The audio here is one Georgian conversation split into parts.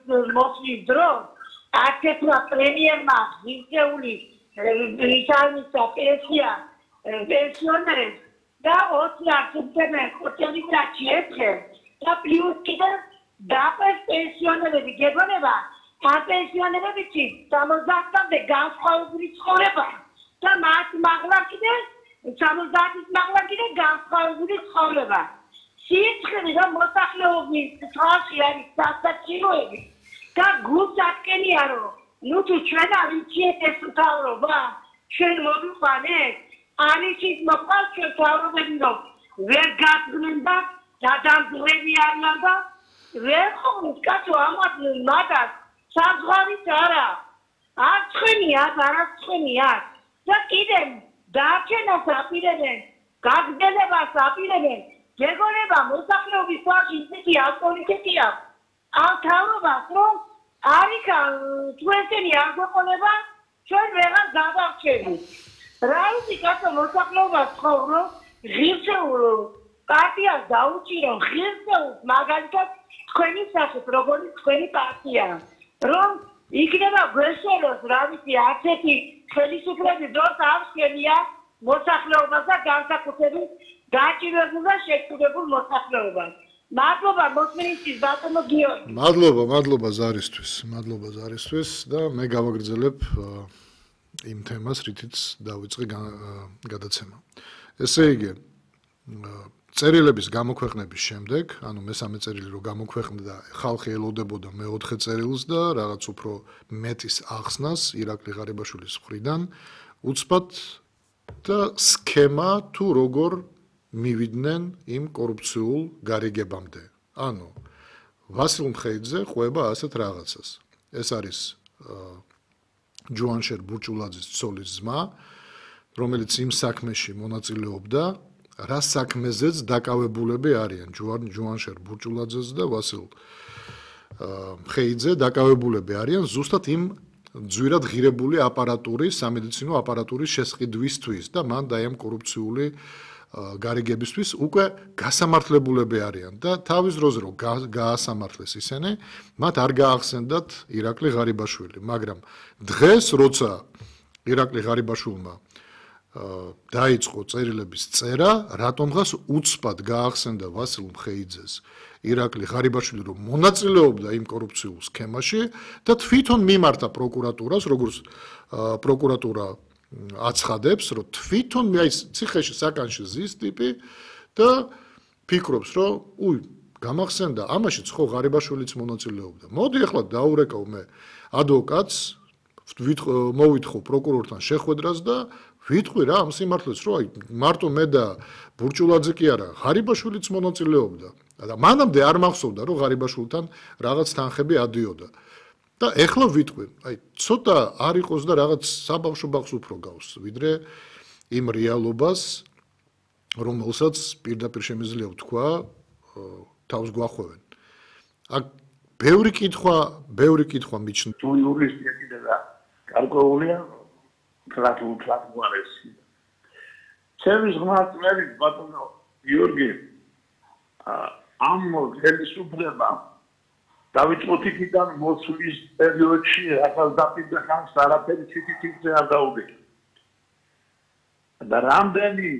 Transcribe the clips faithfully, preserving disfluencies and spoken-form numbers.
მოსვლის დროს აკეთდა პრემიერმა ღირსეული ისამისა პენსია პენსიონერებს და ოცი ათასი ხუთი ეფრე და პლუს კიდევ დაყეს პენსიონერები გეგონება ამ პენსიონერებიც სამოცდაათამდე განსხვავებული ცხოვრება და მათ მაღლა კიდევ სამოცდაათის მაღლა კიდევ განსხვავებული ცხოვრება სიცხე და მოსახლეობის თავში არის სასაცილოები და გულს ატკენია რომ ნუ თუ ჩვენ არ ვიცით ეს მთავრობა ჩვენ მოვიყვანეთ ანიჩის მოყავს ჩვენ თავრობები რომ ვერ გაწმენ და დადამძრები არიან და ვერ ხოვთ კაცო ამათ მაგას საზღვარიც არა არ ცხენიათ არა ცხენიათ და კიდევ დაარჩენას აპირებენ გაგრძელებას აპირებენ გეგონება მოსახლეობის თავში ისეთი ავტორიტეტია ამ თავრობას რომ არიქა ჩვენი არ გვეყოლება ჩვენ ვეღარ გავარჩევით რა ისი კაცო მოსახლეობას ცხოვრო ღირსეულ პარტიას დაუჭირო ღირსეულს მაგალითად თქვენი სახით როგორი თქვენი პარტია რომ იქნება გვეშელოს რა ვიცი არც ერთი ხელისუფლების დროს არ შეგვია მოსახლეობას და განსაკუთრებით გაჭირებულ და შეკრებულ მოსახლეობას მადლობა მოსმენისთვის ბატონო გიორგი მადლობა მადლობა ზარისთვის მადლობა ზარისთვის და მე გავაგრძელებ იმ თემას რითიც დავიწყე გადაცემა ესე იგი წერილების გამოქვეყნების შემდეგ ანუ მესამე წერილი რო გამოქვეყნდა ხალხი ელოდებოდა მეოთხე წერილს და რაღაც უფრო მეტის ახსნას ირაკლი ღარიბაშვილის მხრიდან უცბად და სქემა თუ როგორ მივიდნენ იმ კორუფციულ გარიგებამდე. ანუ ვასილ მხეიძე ყვება ასეთ რაღაცას. ეს არის ჯუანშერ ბურჭულაძის ცოლის ძმა, რომელიც იმ საქმეში მონაწილეობდა, რა საქმეზეც დაკავებულები არიან ჯუანშერ ბურჭულაძეს და ვასილ მხეიძე დაკავებულები არიან ზუსტად იმ ძვირად ღირებული აპარატურის, სამედიცინო აპარატურის შესყიდვისთვის და მან და ამ კორუფციული გარიგებისთვის უკვე გასამართლებულები არიან და თავის დროზე რომ გაასამართლეს ისინი, მათ არ გაახსენდათ ირაკლი ღარიბაშვილი, მაგრამ დღეს როცა ირაკლი ღარიბაშვილმა დაიწყო წერილების წერა, რატომღაც უცბად გაახსენდა ვასილ მხეიძეს ირაკლი ღარიბაშვილი რომ მონაწილეობდა იმ კორუფციულ სქემაში და თვითონ მიმართა პროკურატურას, როგორც პროკურატურა აცხადებს, რომ თვითონ აი ციხეში საკანში ზის ტიპი და ფიქრობს, რომ უй, გამახსენდა, ამაშიც ხო ღარიბაშვილიც მონაწილეობდა. მოდი ახლა დაურეკავ მე ადვოკატს, მოვითხოვ პროკურორთან შეხვედრას და ვიტყვი რა ამ სიმართლეს, რომ აი მარტო მე და ბურჭულაძე კი არა, ღარიბაშვილიც მონაწილეობდა. და მანამდე არ მახსოვდა, რომ ღარიბაშვილთან რაღაც თანხები ადიოდა. და ეხლა ვიტყვი, აი ცოტა არ იყოს და რაღაც საბავშვო ბაღს უფრო გავს, ვიდრე იმ რეალობას, რომელსაც პირდაპირ შემიძლია ვთქვა, თავს გვახვევენ. აქ ბევრი კითხვა, ბევრი კითხვა მიჩნდა. თუ იურისტია კიდე და გარკვეულია თლათ თლათ გვარესი. ჩემს ღმერთს ბატონო გიორგი ამ ხელისუფლება დავიწყოთ იქიდან მოსვლის პერიოდში ახალ დაპირდა ხანს არაფერი ციტითი არ დაუდგა. და რამდენი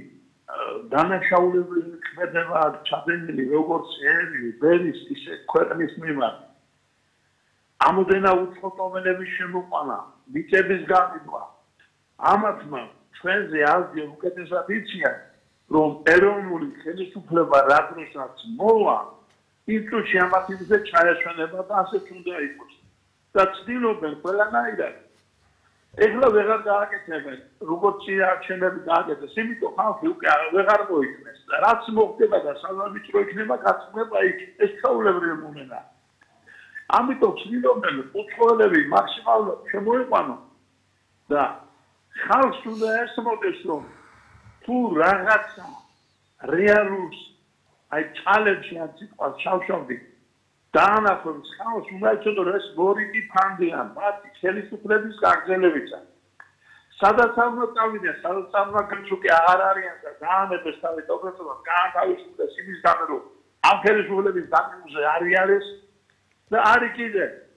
დანაშაულებული ქმედება ჩადენილი როგორც ერი, ბერის, ისე ქვეყნის მიმართ. ამოდენა უცხოტომელების შემოყვანა, მიწების გამიდვა. ამათმა ჩვენზე ազდია უკეთესად იციან, რომ ეროვნული ხელისუფლება რა დროსაც მოვა იმ წუთში ამათ იმზე ჩაეშვენება და ასეც უნდა იყოს. და ცდილობენ ყველანაირად. ეხლა ვეღარ გააკეთებენ, როგორც არჩევნები გააკეთეს, იმიტომ ხალხი უკვე ვეღარ მოიქნეს. და რაც მოხდება და სავარჯიშო იქნება, გაცნობა იქ. ეს ჩაულებრივი მომენტია. ამიტომ ცდილობენ უცხოელები მაქსიმალურად შემოიყვანონ და ხალხს უნდა ესმოდეს, რომ თუ რაღაცა რეალურს აი ჩალენჯი ან სიტყვას ჩავშავდი დაანახოს ხალხს უნდა იცოდო რომ ეს მორიგი ფანდიან მათი ხელისუფლების გაგრძელებისა სადაც არ უნდა წავიდნენ სადაც არ უნდა გიჩუკი აღარ არიან და დაანებეს თავის ოპერაციას გაანთავისუფლეს იმის გამო რომ ამ ხელისუფლების დაკნინზე არ არის და არის კიდე